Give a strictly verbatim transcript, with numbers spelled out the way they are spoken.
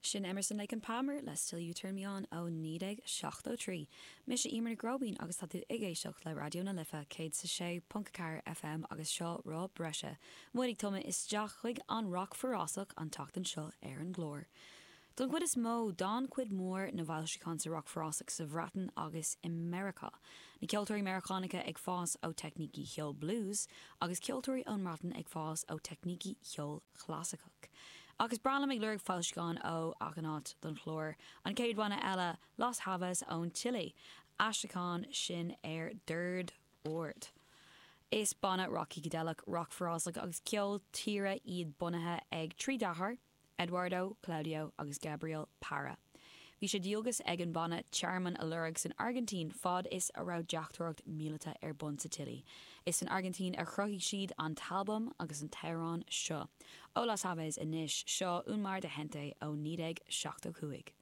Sin Emerson Lake and Palmer le Still You Turn Me On ó naoi déag seachtó trí. Mise Emer Nic Róibín agus tá tú ag éisteacht le Raidió na Life céad is a sé ponc ceathair FM agus seo rá breise. Muid ag tumadh isteach chuig an roc forásach an tseachtain seo ar an gclár. Don chuid is mó d'fhan cuid mhór na bhfoilseachán sa roc forásach sa Bhreatain agus i Meiriceá. Na ceoltóirí Meiriceánacha ag fás ó teicnící cheol blues agus ceoltóirí ón mBreatain ag fás ó teicnící cheol chlasaiceach. Agus breá liom ag lorg foilseacháin ó achan áit don chlár. An chéad bhanna eile Los Jaivas ón tSile, aistriúchán sin ar dord ard. Is banna roc shícideileach, roc forásach agus ceol tíre iad bunaithe ag trí deartháir, Eduardo, Claudio agus Gabriel Parra. Bhí sé dualgas ag an banna tearmann a lorg san Airgintín fad is a raibh deachtóireacht míleata ar bun sa tSile. Is san Airgintín a chruthaigh siad an t-albam agus an t-amhrán seo. Ó Los Jaivas anois seo Un Mar de Gente ó naoi déag seachtó cúig.